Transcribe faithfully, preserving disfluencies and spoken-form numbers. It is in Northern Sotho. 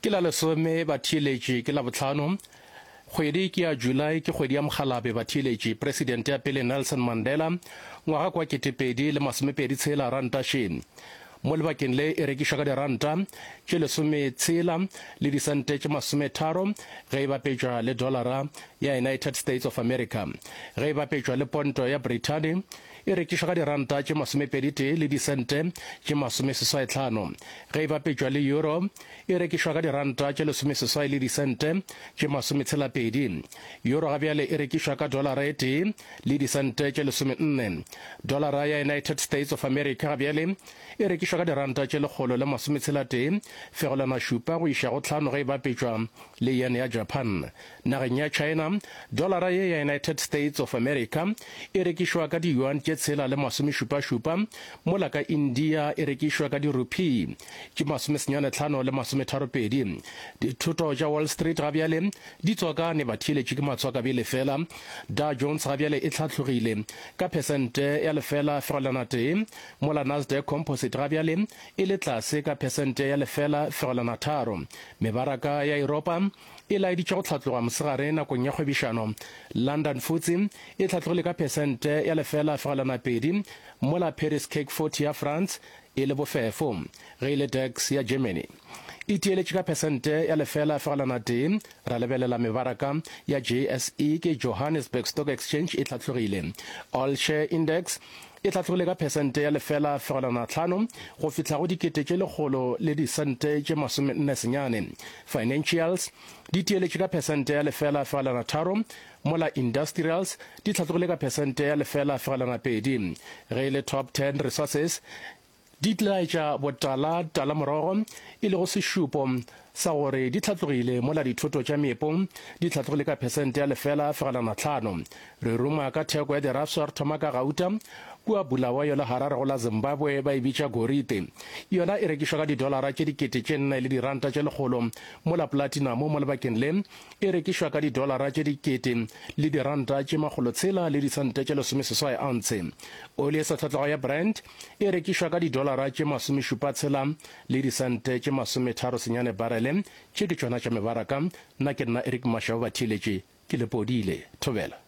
Ke la lesome batheeletši ke Labohlano, kgwedi ke ya July ke kgwedi ya mokgalabe batheeletši Presidente ya pele Nelson Mandela ngwaga kwa ketepedi le masomepedi tshela ranta še mo lebakeng le e rekišwa ka diranta tše lesometshela le disente tše masometharo ge e bapetšwa le dollara ya United States of America. Ge e bapetšwa le ponto ya Brithani e rekišwa ka diranta tše masomepedi tee le disente tše masomeseswai tlhano. Ge e bapetšwa le euro e rekišwa ka diranta tše lesomeseswai le disente tše masometshela pedi. Euro ga bjale e rekišwa ka dollara e tee le disente tše lesomenne. Dollara ya United States of America ga bjale e rekišwa ka diranta tše lekgolo le masometshela tee fegelwana šupa go iša go tlhano ge e bapetšwa le yen ya Japan. Nageng ya China, dollara ye ya United States of America e rekišwa ka di-yuan tše tshela le masomešupa-šupa, mola ka India e rekišwa ka di-rupee tše masomesenyane tlhano le masometharo-pedi. Dithoto tša Wall Street ga bjale di tswakane batheeletši ke matswakabele fela. Dow Jones ga bjale e hlatlogile ka phesente ya lefela fegelwana tee, mola Nasdaq Composite ga bjale e le tlase ka phesente ya lefela fegelwana tharo. Mebaraka ya Yuropa e laeditše go hlatloga mosegare nakong ya kgwebišano. London F T S E e hlatlogile ka phesente ya lefela fegelwana pedi, mola Paris C A C forty ya France e le bofefo. Ge e le DAX ya Germany e tieletše ka phesente ya lefela fegelwana tee. Ra lebelela mebaraka ya J S E ke Johannesburg Stock Exchange e hlatlogile. All Share Index e hlatlogile ka phesente ya lefela fegelwana tlhano go fihla go dikete tše lekgolo le disente tše masomenne senyane. Financials di tieletše ka phesente ya lefela fegelwana tharo, mola industrials di hlatlogile ka phesente ya lefela fegelwana pedi. Ge e le Top ten Resources di tlaetša botala tala morogo e lego sešupo sa gore di hlatlogile, mola dithoto tša meepo di hlatlogile ka phesente ya lefela fegelwana tlhano. Re ruma ka theko ya dirafša, re thoma ka gauta kua Bulawayo le Harare go la Zimbabwe ba e bitša gorite. Yona e rekišwa ka didolara tše dikete tše nne le diranta tše lekgolo, mola platinum mo lebakeng le e rekišwa ka didolara tše dikete le diranta tše makgolotshela le disente tše lesomeseswai ounce. Oli e sa tlhatloga ya Brent e rekišwa ka didolara tše masomešupa tshela le disente tše masometharo senyane barele. Tše ke tšona tša mebaraka. Nna ke nna Eric Mashau batheeletše ke lepodile. Thobela.